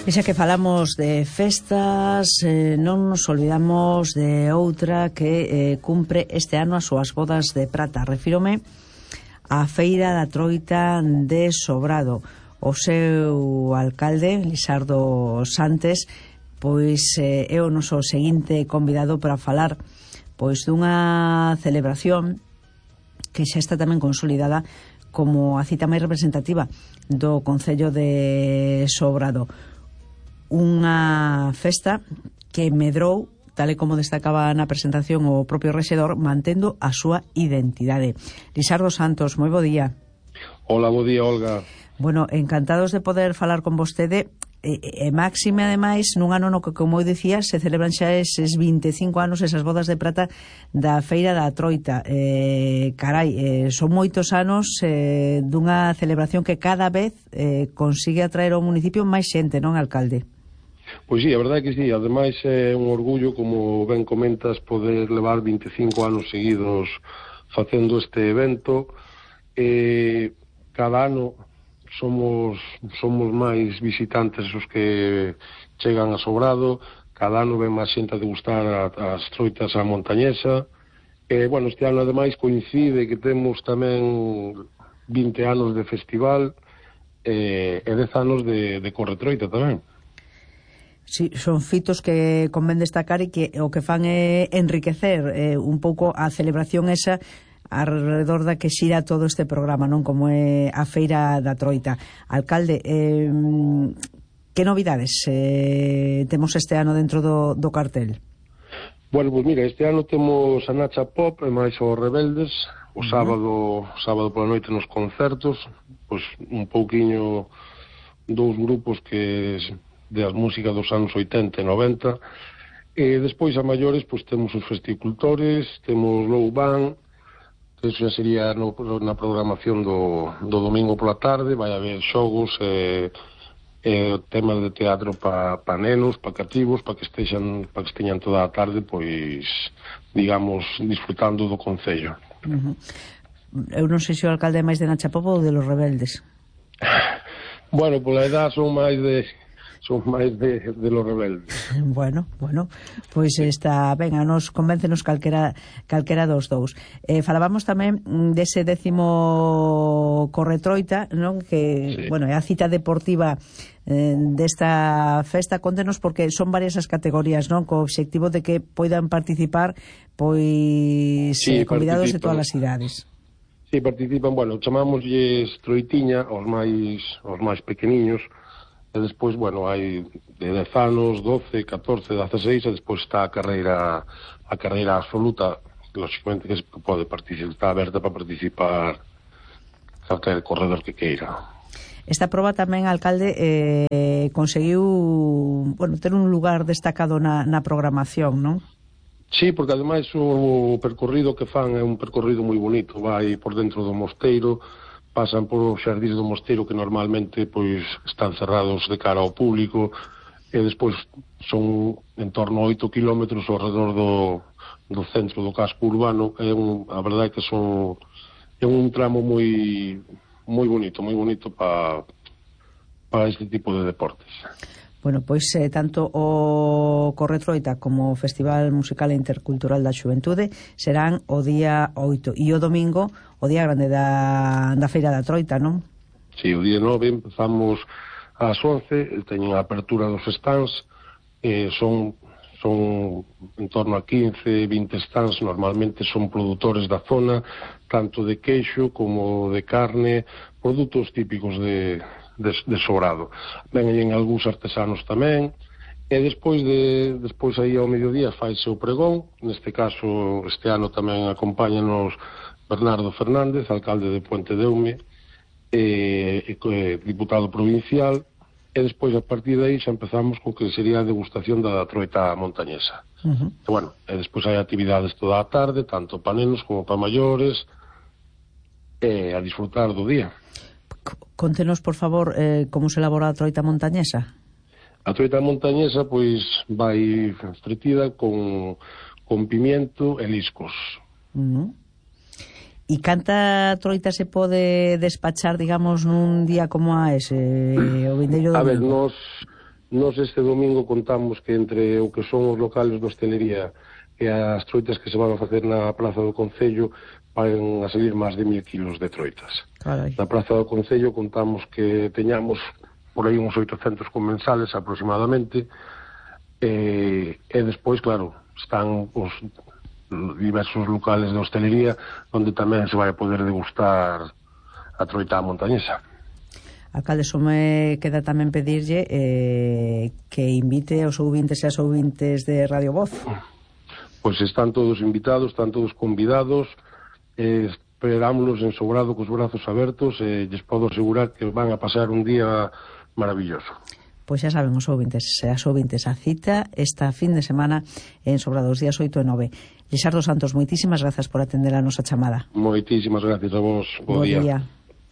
E xa que falamos de festas, non nos olvidamos de outra que cumpre este ano as súas bodas de prata. Refírome á Feira da Troita de Sobrado. O seu alcalde, Lisardo Santes, pois é o noso seguinte convidado para falar pois dunha celebración que xa está tamén consolidada como a cita máis representativa do Concello de Sobrado. Unha festa que medrou, tal e como destacaba na presentación o propio rexedor, mantendo a súa identidade. Lisardo Santos, moi bo día. Hola, bo día, Olga. Bueno, encantados de poder falar con vostede, e máxime, ademais, nun ano no que, como eu dicía, se celebran xa eses 25 anos, esas bodas de prata da Feira da Troita. Son moitos anos dunha celebración que cada vez consigue atraer ao municipio máis xente, non, alcalde? Pois sí, a verdade é que sí, ademais é un orgullo, como ben comentas, poder levar 25 anos seguidos facendo este evento. Cada ano somos máis visitantes os que chegan a Sobrado, cada ano ven máis xente a degustar as troitas á montañesa. Bueno, este ano ademais coincide que temos tamén 20 anos de festival e 10 anos de corretroita tamén. Sí, son fitos que convén destacar e que o que fan é enriquecer un pouco a celebración esa alrededor da que xira todo este programa, non, como é a Feira da Troita. Alcalde, que novidades temos este ano dentro do cartel? Bueno, pois mira, este ano temos a Nacha Pop e máis os Rebeldes, o sábado pola noite nos concertos, pois un pouquiño dous grupos que de as músicas dos anos 80 e 90, e despois a maiores pois temos os festicultores, temos Low Band, que eso sería na programación do domingo pola tarde, vai haber xogos temas de teatro para nenos, para cativos, para que esteñan toda a tarde, pois, digamos, disfrutando do Concello. Eu non sei se o alcalde é máis de Nacha Pop ou de los Rebeldes. Bueno, pola edad son máis de los Rebeldes. Bueno, pois está ben, a nos convéncenos calquera dos dous. Falábamos tamén dese 10º Corretroita, non? Que, sí, bueno, é a cita deportiva desta festa. Contenos, porque son varias as categorías, non? Co obxectivo de que poidan participar pois sí, convidados de todas as idades. Sí, participan, bueno, chamámoslles troitiña aos máis pequeniños. E despois, bueno, hai de 10 anos, 12, 14, 16, e despois está a carreira absoluta, lógicamente que pode participar, está aberta para participar calquer corredor que queira. Esta proba tamén, alcalde, conseguiu, bueno, ter un lugar destacado na programación, non? Sí, porque ademais o percorrido que fan é un percorrido moi bonito, vai por dentro do mosteiro, pasan por os xardíns do mosteiro que normalmente pois están cerrados de cara ao público, e despois son en torno a 8 kilómetros ao redor do centro do casco urbano. A verdade é que é un tramo moi bonito para este tipo de deportes. Bueno, pois tanto o Corretroita como o Festival Musical e Intercultural da Xuventude serán o día 8 e o domingo o día grande da Feira da Troita, non? Sí, o día 9 empezamos ás 11, teñen a apertura dos stands, son en torno a 15, 20 stands, normalmente son produtores da zona, tanto de queixo como de carne, produtos típicos de Sobrado. Venen algúns artesanos tamén, e despois aí ao mediodía faise o pregón. Neste caso, este ano tamén acompáñanos Bernardo Fernández, alcalde de Puente de Eume, diputado provincial, e despois a partir de aí xa empezamos co que sería a degustación da troita montañesa. E bueno, e despois hai actividades toda a tarde, tanto para nenos como para maiores, e a disfrutar do día. Contenos, por favor, como se elabora a troita montañesa. A troita montañesa, pois, vai fritida con pimiento e liscos. E canta troita se pode despachar, digamos, nun día como a ese, o vindeiro domingo? A ver, Nos este domingo contamos que entre o que son os locales de hostelería e as troitas que se van a facer na Praza do Concello van a salir máis de 1000 kilos de troitas. Carai. Na Praza do Concello contamos que teñamos por aí uns 800 comensales aproximadamente, e despois, claro, están os diversos locales de hostelería onde tamén se vai poder degustar a troita montañesa. Alcalde, só me queda tamén pedirlle que invite aos ouvintes e as ouvintes de Radio Voz. Pois están todos invitados, están todos convidados, esperámonos en Sobrado cos brazos abertos e lles podo asegurar que van a pasar un día maravilloso. Pois xa saben os ouvintes e as ouvintes, a cita esta fin de semana en Sobrado, os días 8 e 9. Lixardo Santos, moitísimas grazas por atender a nosa chamada. Moitísimas gracias a vos. Bo día.